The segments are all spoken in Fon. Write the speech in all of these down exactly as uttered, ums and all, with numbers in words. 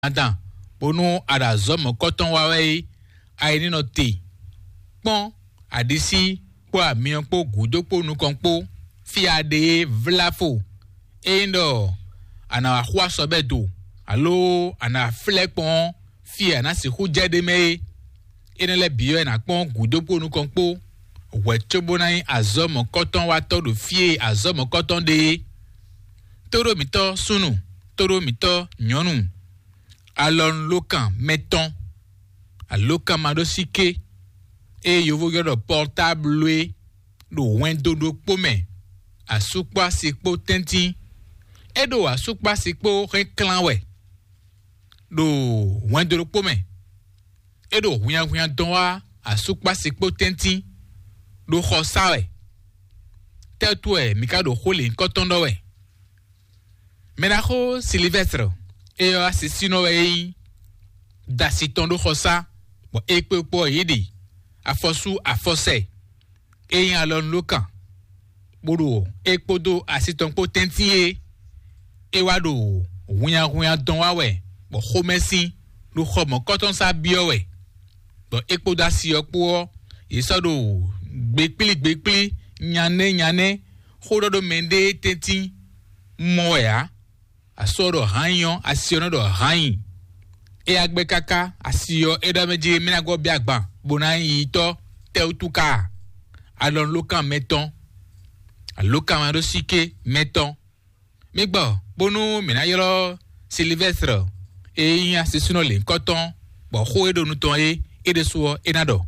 Adan, bónú a ɖo azɔ̌ mɔ̌kɔtɔn wa wɛ é, a yi ní nɔ te. Kpɔ́n, aɖisí kpó amyɔ kpó gǔdo kpó nukɔn kpó, fí a ɖe é vlá fo. Ényí ɖɔ a nǎ wá xú asɔbɛ́ do, alo a nǎ wá flɛ́ kpɔ́n ɔ́, fí e a nǎ sixú jɛ ɖ'é mɛ é. Énɛ́ lɛ́ɛ bǐ wɛ è nǎ kpɔ́n gǔdo kpó nukɔn kpó, hwɛ̌ cóbó ná nyí azɔ̌ mɔ̌kɔtɔn watɔ́ ɖo fí e azɔ̌ mɔ̌kɔtɔn ɖe é. Tóɖó mǐtɔn súnnu, tóɖó mǐtɔn nyɔ̌nu, alɔnulókan mɛtɔn, alókanmaɖósíké, ée yovó ylɔ́ ɖɔ portable é, ɖo hwɛndo ɖokpó mɛ, asúkpási kpó tɛ́ntin. É ɖo asúkpási kpó hɛn klán wɛ, ɖo hwɛndo ɖokpó mɛ. É ɖo hwinnyahwinnya dɔn wá asúkpási kpó tɛ́ntin, ɖo xɔ sá wɛ. Tɛ́tú wɛ mǐ ka ɖo xó lěhunkɔtɔn ɖɔ wɛ? Mɛɖaxó Silivɛ́stre, é ɔ́ asisínɔ wɛ é nyí, da asi tɔn ɖó xɔsá, bɔ é kpé kpó ɔ́ yě ɖe afɔsú afɔsɛ, é nyí alɔnulókan, bó ɖo é kpódó asi tɔn kpó tɛ́ntin é. É wá ɖo hunnyahunnya dɔn wá wɛ, bɔ xomɛsin ɖo xɔ mɔ̌kɔtɔn sá byɔ́ wɛ, bɔ é kpódó asi ɔ́ kpó ɔ́, yě sɔ́ ɖo gbekplí gbekplí, nyanɛ́ nyanɛ́, xó ɖɔ ɖó mɛɖée tɛ́ntin mɔ wɛ ǎ. Asú ɔ́ ɖɔ hǎnyi ɔ́, asi ɔ́ nɔ ɖɔ hǎnyi. É yá gbɛ́ káká, asi ɔ́ é ɖɔ mɛ jí mɛ ná gɔ́ bíá gban, bó ná nyí yitɔ́ tɛ́wútu ká a? Alɔnulókan mɛtɔn, alókanmaɖósíké mɛtɔn. Mi gbɔ, bónú mǐ ná ylɔ́ Silivɛ́stre e nyí asisúnɔ lěhunkɔtɔn, bɔ xó e ɖo nu tɔn é, é ɖésú ɔ́, é ná ɖɔ.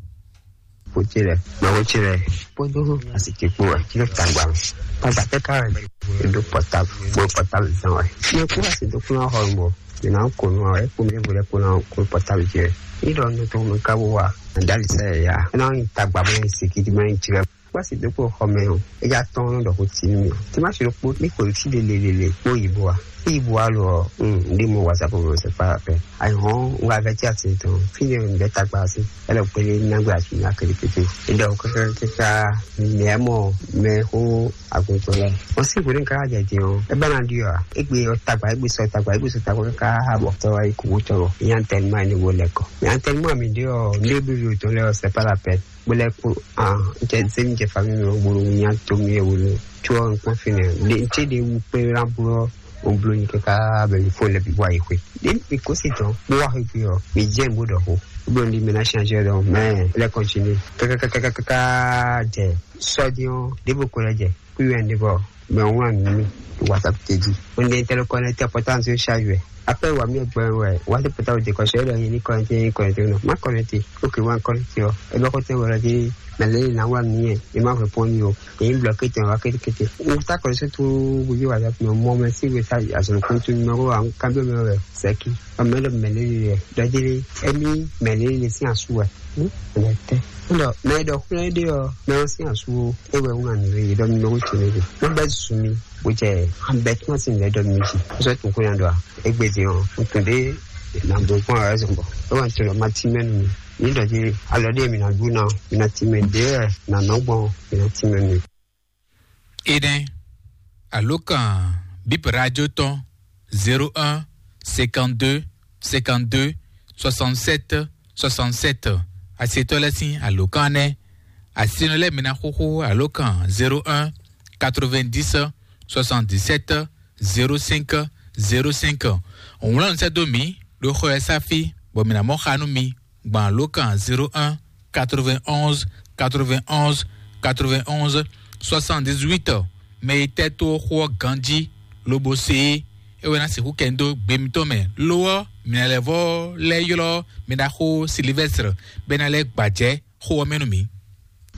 Kpo ce lɛ, mɛ wo ce lɛ, kpódó asi ce kpó wɛ, tí ló tagba mɛ. Tagba tɛ ká wɛ, e ɖó pɔtabu, kpó pɔtabu zan wɛ. Fi e kú asi dó kplɔ́n xɔ mɔ, mi ná ko nu wɛ, kpó mi vo lɛ kpó ná kó pɔtabu ce wɛ. Ní ɖɔ nu tó mi ká wó wa, dali sɛ ya. Ná nyi tagba mɛ, si kidi mɛ, nyi tirɛ. Kpó asi dó kplɔ́n xɔ mɛ o, e ya tɔn nɔ ɖɔ ko ti mi. Tí ma si ɖo kpó, mi ko ti lele lele, kpó yi bo wa. Ibu alo, mm, ndi mo WhatsApp mo se pa pe. Ai hon, nga veti asin to. Fine un beta kpa asin. Ele kwele na gbe asin na kele kete. Inde o kaka kaka, ne mo, me ho agunto le. O si gure ka ja di o. E bana di o. E gbe o tagba, e gbe so tagba, e gbe so tagba ka ha bo to ai ku to. Yan tellement ni wo le ko. Yan tellement mi di o, ne bi to le o, c'est pas la peine. Bó lɛ́ kpó, ah, jɛ zé mi jɛ famille mi bolo nya to mi wolo. Tso ŋkpɔn fi nɛ. De tse de wu kpe la blo o blo nyi kaka bɛ mi fo lɛ bi bɔ ayi xwe. De mi ko si tɔn kpó wa xwe ɔ, mi jɛ n bo dɔ ko. Blo ndi mi na change dɔ, mais lɛ continue. Kaka kaka kaka jɛ sɔdiɔn de bo ko lɛ jɛ. Kuyɔn de bɔ, mais on a mis WhatsApp te dit. On est interconnecté, pourtant c'est chargé. Après, wa mi gbe wɛ, wa te pota o de kɔsɛ lɔ yeli kɔnɛte, yeli kɔnɛte no. Ma kɔnɛte. Ok, wa kɔnɛte o. E bɛ kɔte wɛ lɔ di, mais le na wa mi e, e ma répondre o. E bloqué te wa kete kete. O ta kɔnɛte tout, vous voyez WhatsApp, mais moi, mais si vous ça, à son compte numéro, en cambio, mais ouais, c'est qui? A mɛ lɔ mɛ le le. Dɔ di, e mi mɛ le le si asu wɛ. Hmm? Kɔnɛte. Lɔ, mais dɔ kɔnɛte o, mais si asu o. E wɛ un a mi le, dɔ numéro tene de. Mo bɛ zumi. Bó jɛ an bɛ tún asi nɛ dɔ mi jí. Sɔ tún kó yan dɔ a. Egbe din ɔ, n tún de na bo gbɔn a zɔn bɔ. E wa n tún lɔ ma ti mɛ nu mi. Ni dɔ di alɔ de mi na du na, mi na ti mɛ de wɛ na nɔ gbɔn, mi na ti mɛ nu. Eden, alo kan bip radio tɔn zéro un, cinquante-deux, cinquante-deux, soixante-sept, soixante-sept. Asetɔ lɛ sin alo kan nɛ. Asinɔ lɛ mi na xoxo alo kan zéro un, quatre-vingt-dix, soixante-dix-sept, zéro cinq, zéro cinq. Wlán sɛ dó mi ɖo xɔ ɛ sáfi bɔ mi na mɔ xa nú mi gbɔn alo kan zéro un, quatre-vingt-onze, quatre-vingt-onze, quatre-vingt-onze, soixante-dix-huit. Mɛ yi tɛ tó xó ɔ́ ganjí lobo se é, é wɛ ná sixú kɛ dó gbe mitɔn mɛ. Lo ɔ́, mi na lɛ́ vɔ lɛ́ ylɔ́ mi ɖaxó Silivɛstre bɛ ná lɛ́ gbajɛ xó ɔ́ mɛ nú mi.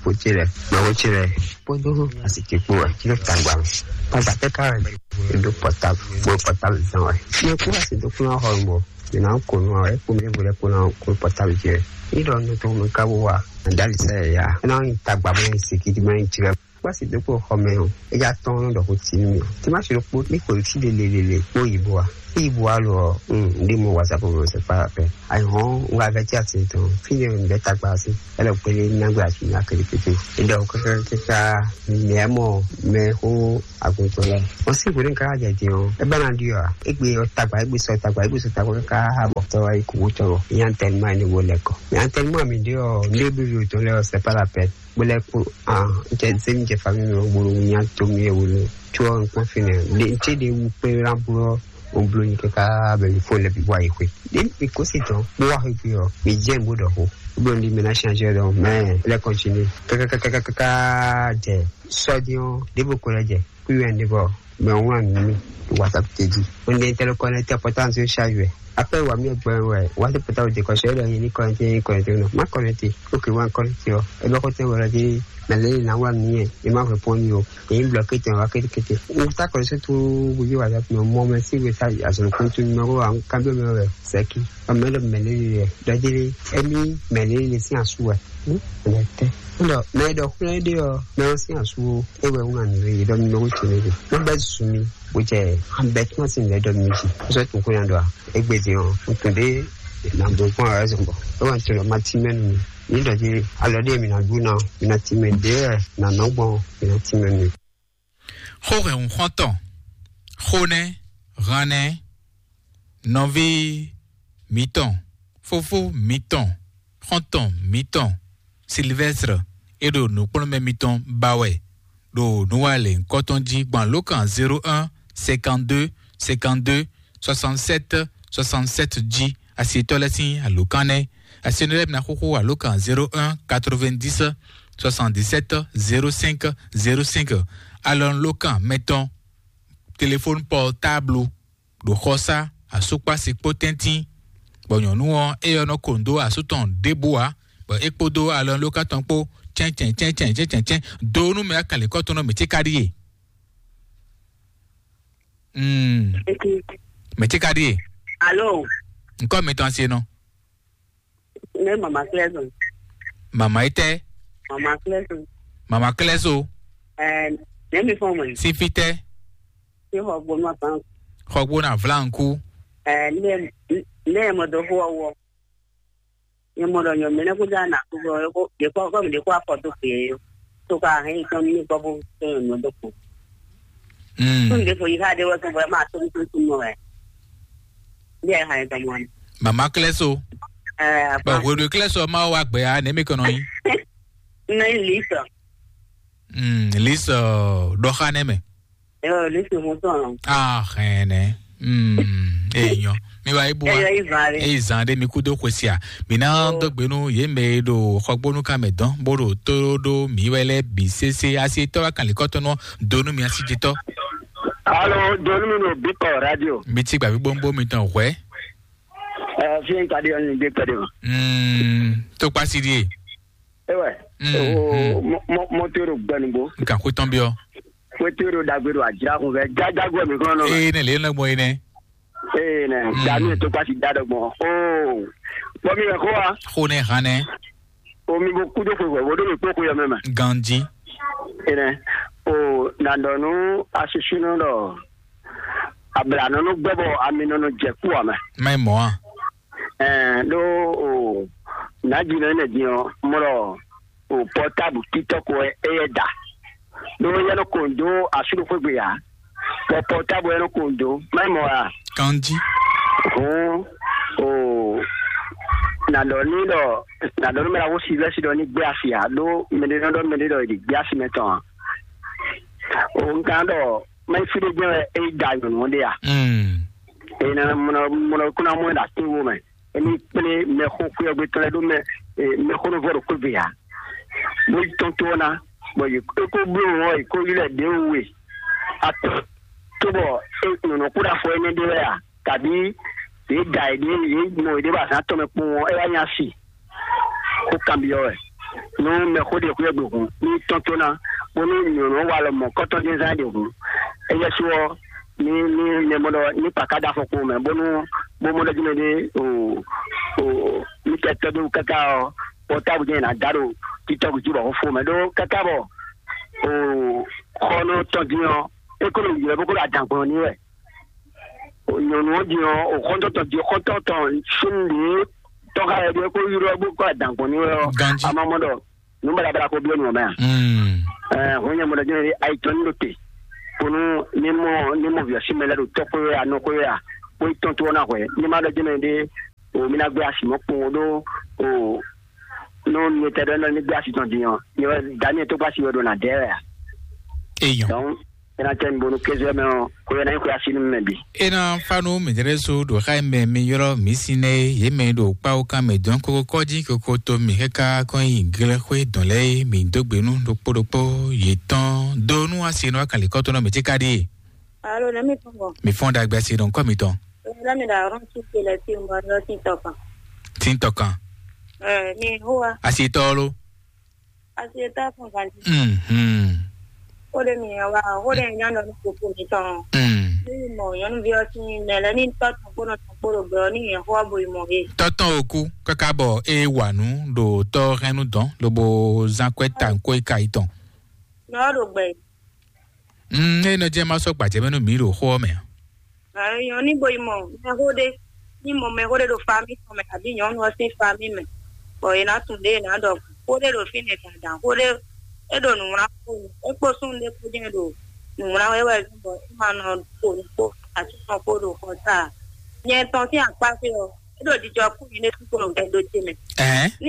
Kpo ce lɛ, mɛ wo ce lɛ, kpódó asi ce kpó wɛ, tí ló tagba mɛ. Tagba tɛ ká wɛ, e ɖó pɔtabu, kpó pɔtabu zan wɛ. Fi e kú asi dó kplɔ́n xɔ mɔ, mi na ko nu wɛ, kpó mi vo lɛ kpó na kó pɔtabu ce wɛ. Ni ɖɔ nu tó mi ka wo wa, dali sɛ ya. Na nyi tagba mɛ, si kidi mɛ, nyi tirɛ. Kpɔ́ asi dó kpo xɔ mɛ ɔ́, é já tɔ́n nɔ ɖɔ xó tínú mì ɔ́. Tí má ṣe ɖokpó ní xweyǐ fí ɖé lélele kpó yǐ bó wa. Fí yǐ bó wa lo ɔ́, un ɖé mɔ whatsapp mɛ sɛ kpá fɛ. Ayǐhɔ́n un wá vɛ́ tí atin tɔn, fí ɖé un vɛ́ tagba sí. Ɛlɛ kpélé nágbé atin nya kétékété. É ɖɔ kákákáká mɛ mɔ mɛ xó agun tɔn lɛ́ɛ. Wọ́n sì kúrò ní káká jɛ din ɔ́, é bá ná ɖi ɔ́, é gbé ɔ́ tagba, é gbé sɔ tagba, é gbé sɔ tagba káká bɔ tɔ́ wá yi kú wó tɔn. Ìyá ń tɛnu mọ́ ẹni wo lɛ kɔ. Ìyá ń tɛnu mọ́ àmì ɖé ɔ́, ndé bí yóò tɔn lɛ́ɛ ɔ́, c'est pas la peine. Bó lɛ́ kpó, ah, jɛ zé mi jɛ famille mi ɔ́, gbolo nya to mi e wolo. Tso ɔ́, un kpɔ́n fínɛ́. Ɖe, n cé ɖe wu kpé ná bló ɔ́, un bló nyi káká bɛ mi fó lɛ bi bó ayi xwé. Ɖe mi kó si tɔn, bó wá xwé ɔ́, mi jɛ n bó ɖɔ xó. Bó n di mi ná changé ɖɔ, mɛ, lɛ continue. Kákákákákáká jɛ sɔ́ dín ɔ́, ɖěvo ko lɛ jɛ. Kúyɔ ɛn ɖé bɔ mɛ ɔ́ wlán nǔ nú mì ɖo WhatsApp ce jí. Mo ní tɛ́ ló kɔnɛ́tí ɔ́ pɔ́tánsì ó ṣáájú ɛ. Après wǎ mì gbɛn wɛ wá sí pɔ́tánsì dě kɔsí ɛ́ ɖɔ nyɛ ní kɔnɛ́tí, nyɛ ní kɔnɛ́tí nɔ. Má kɔnɛ́tí, ókè wá kɔnɛ́tí ɔ́. Ɛ bá kó tɛ́ wɛ lɔ jí mɛ lě lǐ ná wlán nǔ nyɛ, è má hwɛ pɔ́n nyi o. È nyí blɔ̌ké tɛn wá kétékété. Un tá kɔnɛ́tí tó wíwí WhatsApp mɛ mɔ mɛ sí we tá azɔ̌ kúntú nɔ kó wá kábíyɔ mɛ wɛ sɛ́kí. Ɔmɛ ɖɔ mɛ lě lǐ lɛ ɖɔ jí lé émí mɛ lě lǐ sín asú wɛ. Mɛ tɛ́. Ɖɔ mɛ ɖɔ xwlɛ́ ɖé ɔ́, mɛ ɔ́ sín asú ó. É wɛ wú ŋa nǔ e ɖɔ mi mɛ wú ce nɛ ɖe. Mo bɛ zun mi bó jɛ an bɛ tún asi lɛ ɖɔ mi jí. Sɔ tun ko yan ɖɔ a? Egbe din ɔ́, un tun ɖe na bo kpɔn a zɔn bɔ. É wà tun ɖɔ ma ti mɛ nu mi. Mi ɖɔ jí alɔ ɖe mi na ɖu na, mi na ti mɛ ɖe wɛ na nɔ gbɔn, mi na ti mɛ nu. Xó hɛn xɔ́ntɔn, xó nɛ́, han nɛ́, nɔví mǐtɔn, fofó mǐtɔn, xɔ́ntɔn mǐtɔn, Silvɛ́stre, é ɖo nǔkplɔ́nmɛ mitɔn ba wɛ ɖo nǔwalěnkɔ́ tɔn jí gbɔn alǒkan zéro un, cinquante-deux, cinquante-deux, soixante-sept, soixante-sept jí. Asitɔ́ lɛ́ɛ sín alǒkan nɛ́. Asinú lɛ́ɛ bǐ ná xóxó alǒkan zéro un, quatre-vingt-dix, soixante-dix-sept, zéro cinq, zéro cinq. Alɔnulókan mɛtɔn, telefóni pɔtáblu, ɖo xɔsá, asúkpási kpó tɛ́ntín, bɔ nyɔ̌nu ɔ́, é ɔ́ nɔ ko nǔ dó asú tɔn ɖěbǔ ǎ, bɔ é kpódó alɔnulókan tɔn kpó cɛ́ncɛ́n cɛ́ncɛ́n cɛ́ncɛ́n cɛ́n dó nú mɛ akánlěkɔ́ tɔn nɔ mǐ ce ka ɖíe. Mm. Mɛ ce ka ɖíe. Alo. Ŋkɔ mitɔn asi nɔ. Ne mama klɛzo. Mama yi tɛ. Mama klɛzo. Mama klɛzo. Ɛɛ, ne mi fɔ mɔ. Si fi tɛ. Si xɔ gbɔnɔ ban. Xɔ gbɔnɔ avlanku. Ɛɛ, ne ne mɔ do xɔ wɔ. Nyɛ mɔ ɖɔ nyɔ mɛ nɛ kó dá na kó bɔ yeko yeko kɔ mi de kó afɔ do fie yo. To ka hɛn yi tɔn mi kɔ bo to nyɔ do ko. Mm. Tun de fo yi ka de wɛ ko bɔ ma to to to mo wɛ. Bi ai hɛn tɔn mo. Mama klɛso. Eh, apa. Ba hwe do klɛso ma wa gbe a ne mi kono yi. Ne li so. Mm, li so do kha ne me. Yo, li so mo to. Ah, hene. Mm, e nyo. Mi wa ibu. E zan de mi kudo kwesia. Mi na do gbenu ye me do xɔgbonu ka me dɔn bo ɖo to ɖo mi wɛ lɛ bi sese asi tɔ wa kan likɔtɔnɔ donu mi asi jitɔ. Alo, donu mi no bikɔ radio. Mi ti gba bi bombo mi tɔn hwɛ. Ɛ, fi n ka di ɔni gbe pɛ de ma. Mm, to kpasi die. Ewe. Mm, o, mm. Mo mo mo to ro gbanu bo. Nkan ko tɔn bi o. Mo to ro dagbe do ajira kun fɛ. Jajago mi kono. Ee, ne le na gbɔ ene. Ee, nɛ, mm. Dami to kpasi da dɔ gbɔn. Oo, bɔ mi wɛ xó wa. Xó nɛ hàn nɛ. O mi bo kú dó xwe wɛ, wo dó mi kpó xwe yɔ mɛ mɛ. Ganji. Ee, nɛ, o, nandɔnu asisunu dɔ, ablanɔnu gbɛ bɔ aminɔnu jɛ kú wa mɛ. Mɛ mɔ a. Ɛɛ, ɖó o, nǎjinɔ énɛ́ din ɔ́, mlɔ o pɔtáblu títɔ́ ko wɛ éyɛ́ da. Ɖó éyɛ́ nɔ ko nǔ dó asúɖoxwégbe ǎ, bɔ pɔtáblu wɛ nɔ ko nǔ dó, má nyí mɔ̌ ǎ. Kanjí. Hǔn o, nǎ ɖɔ n'i ɖɔ, nǎ ɖɔ nú mɛ ɖaxó Silvɛ́si ɖɔ ní gbé asi ǎ, ɖó mɛɖé nɔ ɖɔ mɛɖé ɖɔ è ɖě gbé asi mɛ tɔn ǎ. O, un ka ɖɔ má nyí fí ɖé jɛ́n wɛ é yi da nyɔ̌nu ɔ́ ɖe a? Mm. Ena mɔnɔ mɔnɔ kuna mɔ da tin wo mɛ. Emi kple mɛ xo kuyɔ gbe tɔn do mɛ, mɛ xo no vɔ do kwe ve ya. Mo tɔn to na, bɔ ye ko ko blo wo, ye ko yile de we. Ato to bɔ e no no kuda fo ene de ya. Kabi ye da ye de ye mo de ba san to me kpɔn e ya nya si. Xó kanbyɔ́ wɛ. Nú mɛxó ɖe xwé gbe hǔn, ní tɔ́n tó ná, bónú nyɔ̌nu wa lɔ mɔ̌ kɔ́tɔ́ dín zán ɖe hǔn, éyɛ́ sú ɔ́, ní ní mɛ mɔ ɖɔ ní kpaká ɖó afɔkpo mɛ, bónú bó mɔ ɖɔ jí mɛ ɖé o o ní kɛ tɔ́ ɖó káká ɔ́, pɔ́táblu jɛ́n è nǎ dá ɖo títɔ́ gǔ jí bɔ xó fó mɛ ɖó káká bɔ o xɔnɔ tɔn din ɔ́, é kó ɖo ylɔ́ bó kó ɖo adǎn gbɔn ní wɛ. O nyɔ̌nu ɔ́ din ɔ́, o xɔ́ntɔn tɔn din, xɔ́ntɔn tɔn sín nǔɖé tɔn xá yɛ ɖé kó ylɔ́ bó kó adǎn gbɔn ní wɛ ɔ́, Ganjí. A ma mɔ ɖɔ nǔ baɖabaɖa ko byɔ́ nǔ ɔ́ mɛ a? Mm. Ɛɛ, hɔn nyɛ mɔ ɖɔ jɛ́n ayi tɔn ní ɖo te. Konu ní mɔ ní mɔ vǐ ɔ́ sín mɛ lɛ́ɛ ɖo tɔ́ xwé wɛ a, nɔ xwé wɛ a, xwé tɔn tó ɔ́ ná hwɛ. Ní ma ɖɔ jɛ́n mɛ ɖé, o mi ná gbé asi mɔ̌ kpowun ɖó o nú nyɛ tɛ ɖɔ ní gbé asi tɔn din ɔ́, nyɛ wɛ Daniel tó gbé asi wɛ ɖo nǎ dɛ wɛ a? Eyɔn. Donc, é ná tɛ́ mi bónú kéze ɔ́ mɛ ɔ́, xwé ɔ́ ná nyí xwé así nú mɛ bǐ. É ná fá nú mǐdɛ́ ɖésú ɖo xá e mɛ mi ylɔ́ mǐ sín é, yě mɛ e ɖo kpáwúkan mɛ dɔn kókó kɔ́jí koko to mì káká kɔn nyi glɛ́xwé dɔn lɛ́ɛ é, mǐ dó gbe nú ɖokpó ɖokpó yětɔn dó nú asi nú akǎnlíkɔ́tɔ́ nɔ mǐ cíká ɖíe. Alo, nɛ̌ mi tɔn gbɔn? Mǐ fɔ́n ɖagbe asi nɔ kɔ́ mitɔn. Lɛ́ mi ɖo arɔ́n sú ce lɛ́ sí un bɔ ní ɔ́ sín tɔ kan. Tín tɔ kan. Ɛ, mi hó wa. Asi tɔ ɔ́ ló. Asi e tɔ fún kan jí. Mhm. Ó ɖe mi wa, ó ɖe nya nɔ ní koko mi tɔn. Mm. Ní mi mɔ nyɔ̌nuví ɔ́ sín mɛ lɛ́ ní tɔ tɔn kpó nɔ tɔn kpó ɖo gbɛ ɔ́ ní nyɛ xó ɔ́ bo yi mɔ é. Tɔtɔn òkú káká bɔ é wà nú ɖo tɔ hɛn nú dɔn lobo zán kwɛ ta nkwó é ka yi tɔn. Nɔ ɔ́ ɖo gbɛ. Mm, é nɔ jẹ́ má sɔ́ gbajɛ mɛ nú mǐ ɖo xó ɔ́ mɛ. Ɛ, nyɔ̌nu ní bo yi mɔ mɛxó ɖé, ní mɔ mɛxó ɖé ɖo fami tɔn mɛ, abǐ nyɔ̌nu ɔ́ sín fami mɛ, bɔ è nǎ tunwun ɖě è nǎ ɖɔ xó ɖé ɖo fínɛ́ dandan, xó ɖé é ɖo nǔwlán kpó, é kpó súnnu ɖé kpó jɛ́n ɖo nǔwlán wɛ wɛ zɔ́n bɔ é ma nɔ xo nǔ kpó asú tɔn kpó ɖo xɔ ta ǎ. Nyɛ tɔn sín akpá fí ɔ́, é ɖo jijɔ kú nyɛ ɖésú kpó ɖo gbɛdo ce mɛ. Ɛɛ? Ní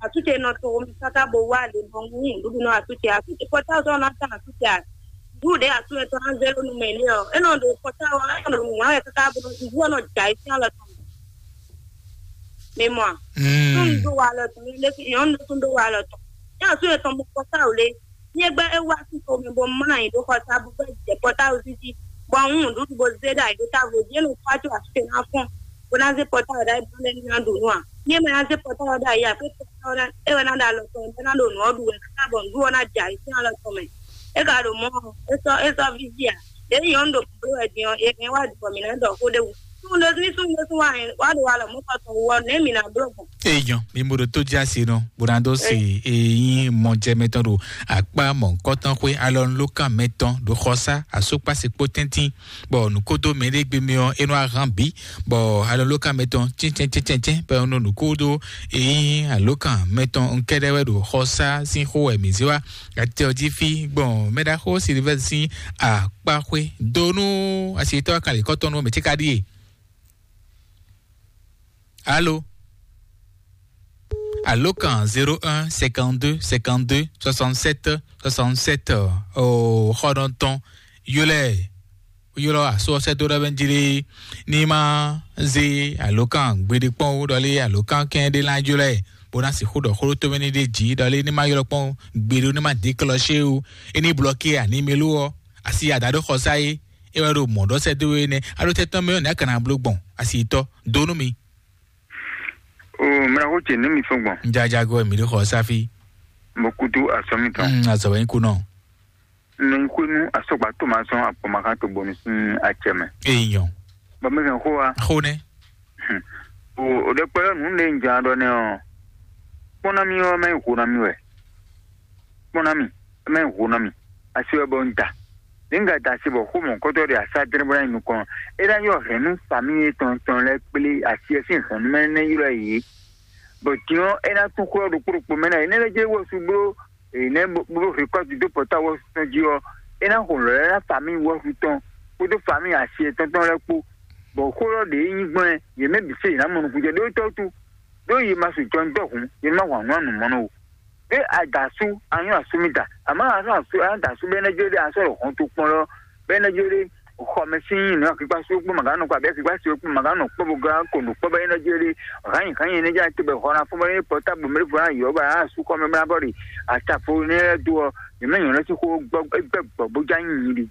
asú ce nɔ to mi káká bo wá lě bɔ ń nǔɖuɖu nɔ asú ce, asú ce kɔta sɔ́ ná tán asú ce a? Ɖu ɖě asú etɔn ná zé ɖó nu mɛ lé ɔ́, é nɔ ɖo kɔta ɔ́, é nɔ ɖo nǔ wá wɛ káká bó nɔ ɖu ɔ́ nɔ jɛ ayisín alɔ tɔn mɛ. Mi mɔ a? Mm. Súnnu ɖó wa alɔ tɔn, nyɔ̌nu ɖésú ɖó wa alɔ tɔn. Ní asú etɔn mɔ kɔta ɔ́ lé, nyɛ gbɛ́ é wá sí xomɛ bɔ má nyi ɖó xɔta bó gbɛ́ jɛ kɔta ɔ́ sísí, bɔ ń nǔɖuɖu bó zé ɖo ayǐ ɖó távo jí, é nɔ kpácó asú ce ná fɔ́n, bó ná zé kɔta ɔ́ ɖ'ayǐ bó ná lɛ́ ná ɖu nǔ a? Ní é ma ná zé kɔta ɔ́ ɖ'ayǐ ǎ, é wɛ ná ɖo alɔ tɔn mɛ, bó ná ɖo nǔ ɔ́ ɖu wɛ káká bɔ nǔɖuɖu ɔ́ ná jɛ ayisín alɔ tɔn mɛ. É ka ɖo mɔ̌ ɔ́, é sɔ́ é sɔ́ víví ǎ. Ɖěe nyɔ̌nu ɖo bló wɛ din ɔ́, è hɛn wá ɖu bɔ mǐ ná ɖɔ xó ɖé wú. Súnnu ɖé ní súnnu ɖé sún wá hɛn wá ɖo alɔ mɔ̌ tɔn wú ɔ́, nɛ̌ mǐ ná bló gbɔn? Èèyàn mi mo ɖo tó jásí nɔ bó ná dó se eyín mɔjɛmɛtɔn ɖo akpá mɔ̌hunkɔtɔn xwé alɔnulókan mɛtɔn ɖo xɔsá asókpásí kpó tɛ́ntín, bɔ nǔkódó mɛɖé gbe mɛ ɔ́ é nɔ ahán bǐ, bɔ alɔnulókan mɛtɔn cɛ́ncɛ́ncɛ́ncɛ́n bɔ é nɔ nǔkódó eyín alókan mɛtɔn nkɛ́ɖɛ́ wɛ ɖo xɔsá sín xó wɛ mǐ zé wá. Atɛ ɔ́ jí fí gbɔn mɛɖaxó Silivɛ́si sín akpáxwé dó nú asitɔ́ akálǐkɔ́tɔn nú mɛ ce ka ɖíe. Alo? Alo kan zéro un cinquante-deux cinquante-deux soixante-sept soixante-sept, o xɔnɔtɔn yolɛ ylɔ́ asú ɔ́ sɛ́ dó ɖɔ bɛ́ jí lé ní má zé alǒkan gbeɖé kpɔ́n ó ɖɔ lé alǒkan kɛn ɖé ná jlɔ́ ɛ bó ná sixú ɖɔ xó ɖó tómɛ ní ɖé jǐ ɖɔ lé ní má ylɔ́ kpɔ́n gbeɖé ní má dě klɔ́ xé ó. É ní blɔ́kí ɛ animelo ɔ́ asi ada ɖó xɔsá é é wɛ ɖo mɔ̌ ɖɔ sɛ́ dó é nɛ́ á ɖó tɛ́ tɔn mɛ ɔ́ nɛ̌ a ka ná bló gbɔn asi tɔ́ dó nú mi. O mla ko ce ne mi sɔn gbɔn. Jajago mi ɖo xɔsá fí. Mo kutu asɔmi tɔn. Mm, azɔ wɛ kunɔ. Nɔ yi xwenu asɔgba to ma sɔn akpɔmakan to bɔnu sin acɛ mɛ. Eyɔn. Bɔ mi hɛn xó wa. Xó nɛ. O o ɖe kpɛ nu ne n jan ɖɔ nɛ ɔ. Kpɔn na mi ɔ mɛ yi xo na mi wɛ. Kpɔn na mi, mɛ yi xo na mi. Asi wɛ bɔ n da. Ne n ka da asi bɔ xó mɔ kɔtɔ de asa dre bɔ na yi nukɔn. E na yɔ hɛn nu fami etɔn tɔn lɛ kple asi ɛ sin hɛn nu mɛ ne ylɔ ye. Bɔ diɔ e na tún xó ɖokpo ɖokpo mɛ na ye ne lɛ dze wɔ su blo. Eye nɛ bó bó récolte dó pɔ́ta wɔ̌su tɔn jí ɔ́, é ná xo lɔ̌ lɛ́ɛ ná famíi wɔ̌su tɔn kpódó famíi asi yětɔn tɔn lɛ́ɛ kpó, bɔ xó ɔ́ ɖě nyí gbɔn ɛ, yě mɛ bǐ se yě ná mɔ nukúnjɛ ɖó tɔ́ wútu, ɖó yě ma su jɔnjɔ́ hǔn, yě má hwan nǔ anǔ mɔ nɔ o. Ɖé a da asú, a nyɔ́ asú mì da, àmọ́ a sɔ́ asú, a da asú bɛ́ nɛ́ jló ɖé, a sɔ́ ɖo hɔn tokpɔn lɔ bɛ́ nɛ́ jló ɖé, xɔ mɛ sín nǔ akíkpásu kpó màgá nɔ kpa bɛ́ akíkpásu kpó màgá nɔ kpɔ́ bó gán ko nǔ kpɔ́ bɛ́ nɛ́ jló ɖé, hǎnyi hǎnyi nɛ́ jló te bɛ xɔ ná fún bɛ́ nɛ́ pɔtábu mɛ ɖé fɔ ná yɔ̌ bɔ a asú xɔ mɛ bó ná bɔ ɖe atafo nɛ́ lɛ́ dó ɔ́, yě mɛ nyɔ̌ lɛ́ sín xó gbɔ gbɔ bó já nyi nyi ɖi.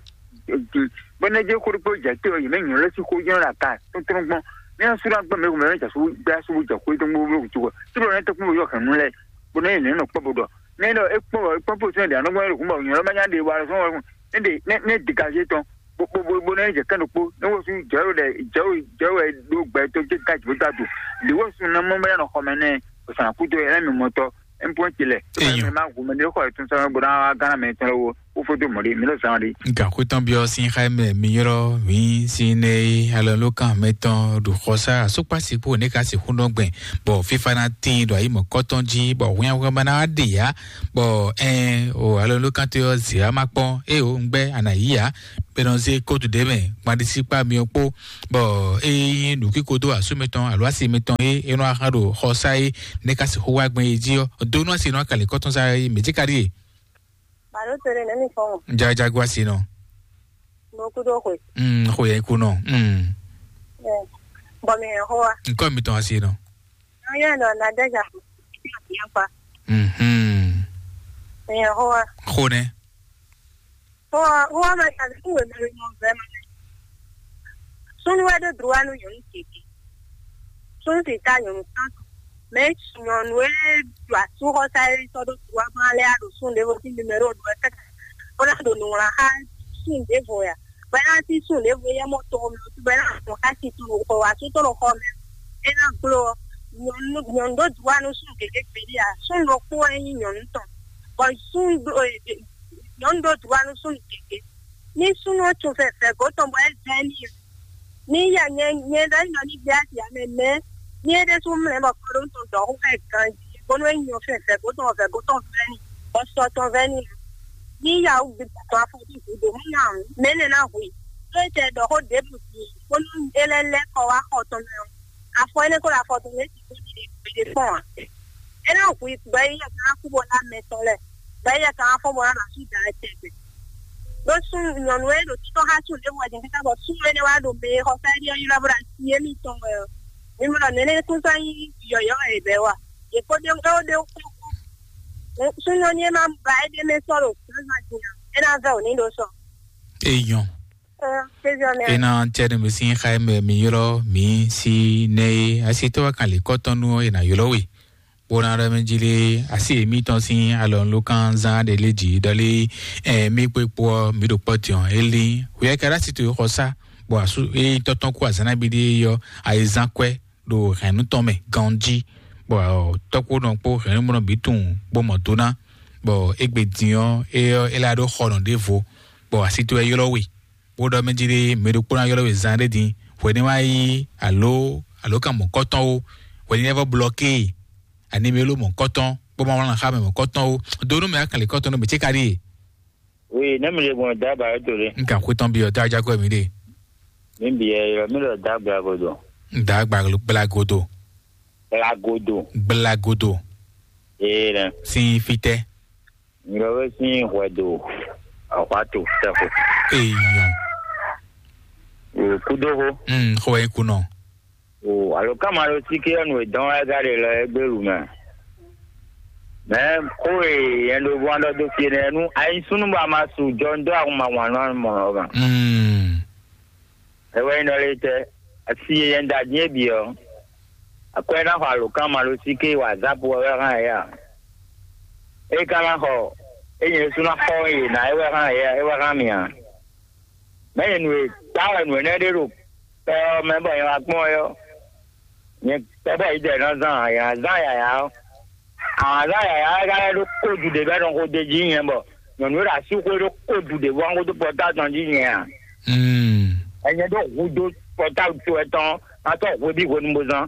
Bɔ nɛ́ jɛ xó ɖokpó jɛ te ɔ́, yě mɛ nyɔ̌ lɛ́ sín xó jɛ́n ɖo ata tɔ́ntɔ́n gbɔn. Ní asú ná gbɛ́ mɛ ɖokpó mɛ jɛ asú gbɛ́ asú bó jɛ xó tɔn gbogbo wútu wɛ. Tí bɔ nɛ́ tɔ́ kpɔ́n bó yɔ hɛ̌nnu lɛ́ɛ, bó nɛ́ yě nɛ́ nɔ kpɔ́ bó ɖɔ. Nɛ́ ɖɔ é kpɔ́n bɔ é kpɔ́n fó tɛ́nɛ ɖě anɔ́ gbɔn é ɖo hǔn bɔ nyɔ̌ lɛ́ má nya ɖe wa lɔ sɔ́ wɛ nɛ́ ɖe nɛ́ nɛ́ dégazé tɔn. Bó bó bó nɛ́ jɛ kɛ́n ɖokpó, nɛ́ wosú jɛ̌ ɖo ɖɛ jɛ̌ ɖo jɛ̌ wɛ ɖó gbɛ tó jɛ ta jǐ bó ta do. Lě wosú ná mɔ bó ná nɔ xɔ mɛ nɛ́, bó sɔn akúdo ɛ lɛ́ mi mɔtɔ. M pɔ́n ce lɛ. Eyɔn. Mɛ ma gu mɛ ɖé xɔ ètò sɔmɛ bó ná gánà mɛ tɔn lɔ wo kó fó dó mɔ̌ ɖé mi lɔ zán ɖé. Gǎn xwétɔn byɔ́ sín xá mɛ mi ylɔ́ mǐ sín nɛ e alɔnulókan mɛtɔn ɖo xɔsá asúkpásí kpó nɛ̌ ka sixú nɔ gbɛn bɔ fífá ná tíin ɖo ayǐ mɔ̌kɔ́tɔn jí bɔ hwinhwanhwan ná wá ɖe yǎ bɔ ɛn o alɔnulókan tɔn ɔ́ zě wá má kpɔ́n ée o un gbɛ́ a nǎ yí ǎ bɔ è nɔ zé kótu ɖě mɛ gbanɖisíkpá myɔ kpó bɔ ée nyí nǔkíko dó asú mɛtɔn alo asi mɛtɔn e é nɔ axán ɖo xɔsá e nɛ́ ka sixú wá gbɛn é jí ɔ́ dó nú asi nɔ akalǐ kɔ́tɔn sá é mɛ̌ jí ka ɖíe. Balo tere nɛ mi fɔn. Jajagu asi nɔ. Mo kudo xwe. Mm, xwe yɛ ku nɔ. Mm. Eh, bɔ mi yɛ hoa. Nkɔ mi tɔn asi nɔ. Yɛ nɔ na de ja. Yakpa. Mhm. Mi yɛ hoa. Xo nɛ. Hoa hoa ma ta ni we me mo ve ma. Sunu wɛ do droit nu nyɔnu tete. Sunu ti ta nyɔnu tan. Mais nyɔnu e ɖo asúxɔsá e sɔ́ ɖó droit gbɔn alɛ a ɖo sun ɖěvo sín numéro ɖo ɛ kɛkɛ bó ná ɖo nǔwlán xá sun ɖěvo ya bɔ é ná sí sun ɖěvo yɛ mɔ tɔn mɛ bɔ é ná mɔ xá si tɔn ɖo xɔ wá sú tɔn ɖo xɔ mɛ é ná gbló ɔ́ nyɔnu nyɔnu ɖó droit nú sun gěgé gběɖé a sun ɖokpó wɛ nyí nyɔnu tɔn bɔ sun ɖó nyɔnu ɖó droit nú sun gěgé ní sun ɔ́ tún fɛfɛ gǒ tɔn bɔ é zɛ ní ní ya nyɛ nyɛ ɖɔ nyɔ ní gbé asi ame mɛ ní é ɖésú mlɛ bɔ kɔɖó tɔn dɔ̌ xó fɛ ganjí bónú é nyɔ fɛ vɛ̌ gó tɔn vɛ̌ gó tɔn vɛ́ ní bɔ sɔ tɔn vɛ́ ní ní ya wú gbígbà tɔn afɔ bí gǔdo mú nya mɛ nɛ ná hu i tó é tɛ ɖɔ xó ɖěbǔ din bónú é lɛ́ lɛ́ kɔ wá xɔ tɔn mɛ ɔ́ afɔ énɛ́ kó ɖo afɔ tɔn mɛ é ti kó ɖi ɖe gbede kpɔ́n ǎ é ná hu i gbɛ yi yɛ ká kú bɔ ná mɛ tɔn lɛ gbɛ yi yɛ ká fɔ́n bɔ ná ɖo asú da tɛgbɛ ɖó sún nyɔnu e ɖo títɔ́ xá sún ɖěvo wɛ din káká bɔ sún énɛ́ wá ɖo mɛ e xɔ fɛ́ɖí ɔ́ ylɔ́ bó ɖo así émítɔn wɛ ɔ́ mi mɔ ɖɔ nɛnɛ kúnsan nyí yɔ̌yɔ́ wɛ è bɛ́ wa yě kó ɖe wɛ ó ɖe wú kpɔ́kpɔ́ sún nyɔnu e ma ba é ɖ'é mɛ sɔ́ ɖo zǎnzǎn din ǎ é ná vɛ́ wǒ ní ɖó sɔ. Eyɔn. Kéziɔ mɛ. Ena tiɛ ɖe mi sín xa mɛ mi ylɔ́ mi sí nɛ e asitɔ́ wa kan lě kɔ́tɔn nú ɔ́ è nǎ ylɔ́ we. Bó ná ɖɔ mɛ jí lé asi mǐtɔn sín alɔnulókan zán ɖe lé jǐ ɖɔ lé ɛ mí kpé kpó ɔ́ mǐ ɖo kpɔ́ din ɔ́ é lín. Hwɛ ka ɖo asi towe xɔ sá bɔ asú é tɔ́tɔ́n kú azǎn nabí ɖé ɔ́ ayizán kwɛ́ ɖo hɛ̌nnu tɔn mɛ ganjí bɔ tɔ́kpónɔ kpó hɛ̌nnumɔnɔ bǐ tunwun bó mɔ do ná bɔ égbé din ɔ́ é ɔ́ é lá ɖó xɔnɔ ɖěvo bɔ asi towe ylɔ́ we. Bó ɖɔ mɛ jí ɖé mɛ ɖokpó ná ylɔ́ we zan ɖé din hwɛ ní wá yí alo alo kan mɔ̌kɔtɔn ó hwɛ ní lɛ́ vɔ blɔké e ani mi ló mɔ̌kɔtɔn bó ma wlán xá mɛ mɔ̌kɔtɔn ó do nú mɛ akan lě kɔtɔn nú mɛ cé ka ɖíe. Oui, ne mi le gbɔn da ba to le. N kan xwetɔn bi ɔ da jago mi ɖe. Mi bi ɛ yɔ mi lɔ da gba godo. Da gba gbla godo. Gbla godo. Gbla godo. Ee nɛ. Sin fitɛ. Nyilɔwe sín hwɛdo ahwato tɛxo. Eyɔn. Kudoho. Mm, xɔ wɛ kunɔ. O alo kama ɖo sike ɔnu edɔn wɛ ga ɖe lɔ egbe lu mɛ. Mɛ ko e yɛn ɖo bɔ ɖɔ do fie nɛ nu ayi sunu ba ma su jɔ ndo ahun ma wan nɔ mɔ ɔ ma. Mm. Ewɛ nyɔ le tɛ asi yɛ da din ebi ɔ. Akwɛ na xɔ alo kama ɖo sike wa zapu wɛ hã ya. E ka na xɔ e nyɛ su na xɔ ye na ewɛ hã ya ewɛ hã mi a. Mɛ nyɛ nu e ta wɛ nu enɛ ɖe ɖo pɛ ɔ mɛ bɔ nyɛ wa kpɔn ɛ ɔ. Nyɛ tɛ bɔ yi dɛ na zan ya zan yaya ɔ. Azan yaya ɛ ka lɛ ɖo kodu ɖe bɛ nɔ ko de dzi nyɛ bɔ nyɔnu ɖo asi xwe ɖo kodu ɖe bɔ ŋgodo pɔta tɔn dzi nyɛ a. Mm. Ɛnyɛ ɖo hudo pɔta to ɛtɔn atɔ hwe bi hwenu bo zan.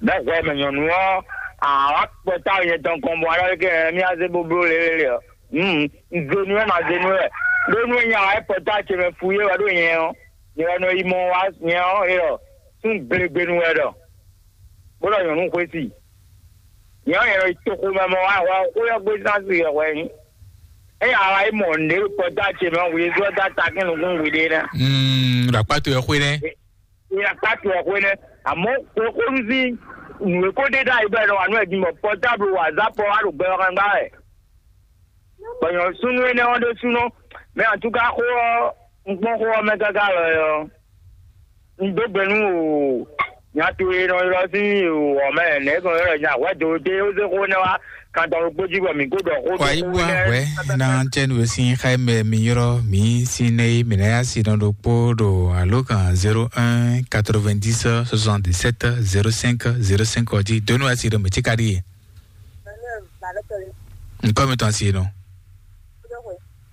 Bɛ hwɛ mɛ nyɔnu ɔ awa pɔta nyɛ tɔn kɔn bɔ alɔ ke mi aze boblo lelele ɔ. Mm. Zenu ɛ ma zenu ɛ ɖo nu nya wa pɔta ce mɛ fu ye wa ɖo nyɛ ɔ. Nyɛ wa nɔ yi mɔ wa nyɛ ɔ e ɔ. Sun gbegbenu wɛ ɖɔ. Bó ɖɔ nyɔnu xwesi. Nyɛ ɔ nyɛ nɔ yi toxo mɛ mɔ wa wa xó yɔ gbé zan si yɔ hwɛ nyi. Eye awa yi mɔ nɖe pɔta ce mɛ wi zɔ da ta kí nukún wi ɖe nɛ. Mm, ɖo akpá to yɔ xwé nɛ. Nya kpá to ɔ xwé nɛ. Àmọ́ xwexónú sín nǔ e ko ɖe ɖ'ayǐ bɔ è nɔ wa nú ɛ din bɔ pɔtáblu wa zǎpɔ wá ɖo gbɛ ɔ́ xángbá wɛ. Bɔ nyɔ̌súnú énɛ́ ɔ́ ɖésúnɔ mɛ atúká xó ɔ́ un kpɔ́n xó ɔ́ mɛ káká lɔ ɔ́ un dó gbe nú o nya towe e nɔ ylɔ́ sín o ɔ̌ mɛ nɛ̌ gbɔn ylɔ́ nya hwɛ̌ do dé ó zé xó énɛ́ wá kan tɔn ɖokpó jí bɔ mǐ kó ɖɔ xó dó Wàyí xó bú énɛ́ àwẹ́ ná tɛnu e sín xá mɛ mi ylɔ́ mǐ sín nɛ́ é mǐ ná yá si nɔ ɖokpó ɖo alǒkan zéro un quatre-vingt-dix soixante-dix-sept zéro cinq zéro cinq ɔ́ jí dó nú wá si ɖo mǐ cí ka ɖíe. Nukɔ mi tɔn si nɔ.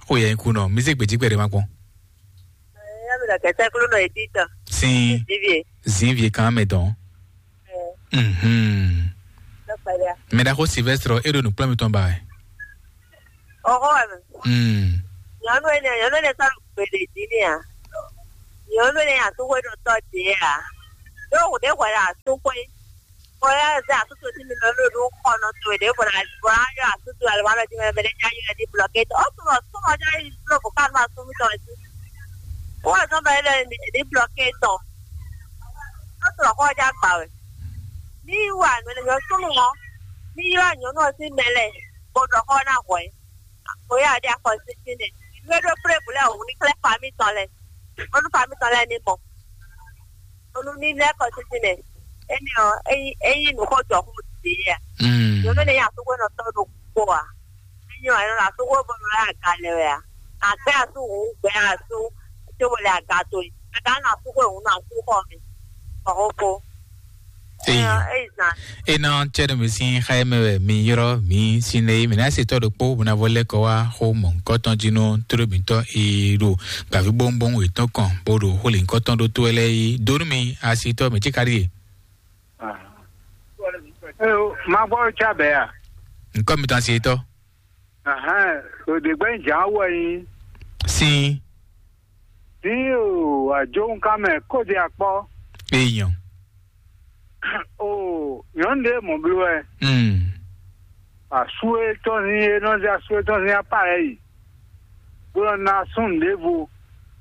Xo yɛ ku nɔ. Mi se gbeji gbɛɖe ma kpɔn. Sin. Zin vie kan mɛ dɔn. Mhm. Mɛ da ko Sylvestre e ɖo nukplɔ mi tɔn ba. Oho. Mm. Nyɔnu ene, nyɔnu ene sɔ́ gbede jí ni a? Nyɔnu ene asúxwé ɖo tɔ́ ɖě a? Ɖó hǔn ɖé hwɛ ɖo asúxwé. Bɔ yá zɛ asúxwé tí mi lɔ ló ɖó xɔ nɔ towe ɖě bɔ na bɔ na yɔ asúxwé alɔ alɔ jí mɛ mɛ ɖé já yɔ ní blɔké tɔ. Ó sɔmɔ sɔmɔ já yi blɔ bɔ ká nɔ asú mi tɔn jí. Wọ́n zɔn bɛ lɛ ní blɔké tɔ. Ó sɔmɔ xɔ já gbà wɛ. Ní wà nɔ ní yɔ súnmù wọn. Ní yɔ nyɔnu ɔ́ sín mɛ lɛ bó ɖɔ xɔ ná hwɛ. Oya ɖe akɔsísí nɛ. Nú é ɖó plé bǔ lɛ́ɛ wǔ ní xlɛ́ fa mítɔn lɛ́ɛ. Bónú fa mítɔn lɛ́ɛ ní mɔ. Bónú ní lɛ́ kɔsísí nɛ. Énɛ́ ɔ́, é nyí é nyí nǔ xó jɔ xó ɖě a? Mm. Nyɔ̌nu énɛ́ nyí asúxwénɔ tɔn ɖokpó a? É nyí ɔ́, é nɔ ɖo asúxwé bónú lɛ́ aga lɛ wɛ a? Àgbɛ́ asú hǔn gbɛ́ asú cóbó lɛ aga towe. Aga nɔ asúxwé hǔn nɔ asú xɔ mi. Bɔ xó kó. Eyi. Eyi zan. Ena cɛɖɛ mi sín xa mɛ wɛ mi yrɔ mi sín lɛ mi ná se tɔ ɖokpó bó ná vɔ lɛ kɔ wá xó mɔ ŋkɔ tɔn jí nú tóɖó mǐtɔn e ɖo gbàví bóńbóń wětɔn kɔn bó ɖo xó lě ŋkɔ tɔn ɖó tó wɛ lɛ yi dó nú mi asitɔ mi tí ka ɖíe. Má gbọ́ tsa bɛ́ a? Ŋkɔ mi tɔn asitɔ. Ahán, òdè gbẹ́ ń jà wọ̀ yín. Sín. Dín o àjòhúnkámɛ kóde akpọ́. Èèyàn. O nyɔ̌nu ɖé mɔ̌ bló wɛ. Mm. Asú e tɔn sín e nɔ zé asú e tɔn sín apá lɛ́ɛ yi, bó nɔ ná súnnu ɖěvo,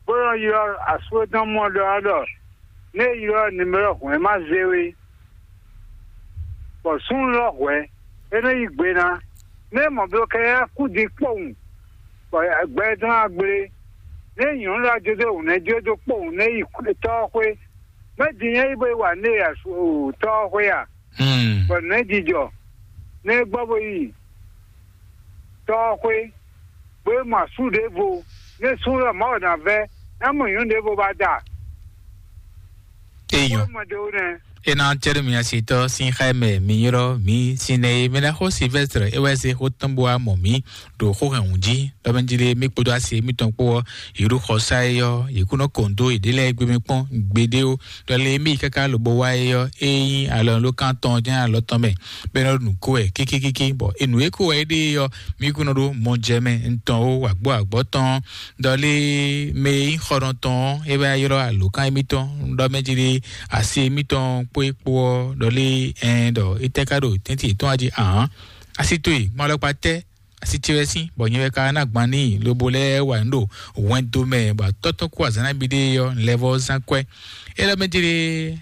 bó nɔ ylɔ́ asú e tɔn mɔ ɖɔ ɔ́ ɖɔ: "Nú é ylɔ́ nimero hwɛ̌n ma zé we." Bɔ súnnu lɔ hwɛ̌, é nɔ yí gbe ná. Nú é mɔ bló kɛ́ é kú din kpowun, bɔ gbɛ tɔn ná gblé. Nú é nyɔ̌nu lɔ jó dó hǔn, é jó dó kpowun, nú é yi tɔ́ ɔ́ xwé. Mɛ̌ din nyɛ yi bó yi wa nú é yi tɔ́ ɔ́ xwé a? Bɔ nɛ̌ jijɔ nɛ́ gbɔ bó yi tɔ́ ɔ́ xwé, bó yi mɔ asú ɖěvo, nɛ́ sú wɛ Mawu ná vɛ́, ná mɔ nyɔ̌nu ɖěvo ba da. Eyɔn. Mɔ ɖěvo nɛ́. Ena cɛɖo mi asitɔ sín xá mɛ mi yrɔ mi sinɛ e mɛ ná xó Silvestre e wɛ se xó tɔn bó wá mɔ mi ɖo xó hɛn wǔ jí. Lɔmɛjili mi kpódó asi mitɔn kpó ɔ́, yě ɖo xɔsá e ɔ́, yě kún nɔ kɔn dó yěɖée lɛ́ɛ gbé mɛ kpɔ́n gbeɖé ó. Ɖɔ lé mì káká lobo wá é ɔ́, é nyí alɔnulókan tɔn jɛ́n alɔ tɔn mɛ, bɔ é nɔ ɖo nǔ ko wɛ kíkíkíkí, bɔ è nǔ e ko wɛ é ɖe é ɔ́, mì kún nɔ ɖó mɔjɛmɛ ntɔn ó, wǎgbó wǎgbɔ́ tɔn. Ɖɔ lé mɛ e nyí xɔnɔtɔn ɔ́, é wɛ ylɔ́ alǒkan émítɔn, ɖɔ mɛ jí ɖé asi émítɔn kpó é kpó ɔ́, ɖɔ lé ɛn ɖɔ étɛ́ ká ɖo tɛ́ntin yětɔn wá jí ahǎn. Asi towe, ma lɔ kpa tɛ́, asi ce wɛ sín, bɔ nyɛ wɛ ka ná gban n'i, lobo lɛ́ wa nǔ ɖo hwɛndo mɛ, bɔ atɔ́ tɔn kú azǎn ná bi ɖé ɔ́, lɛ́ vɔ́ zán kwɛ́. É lɛ́ mɛ jí ɖé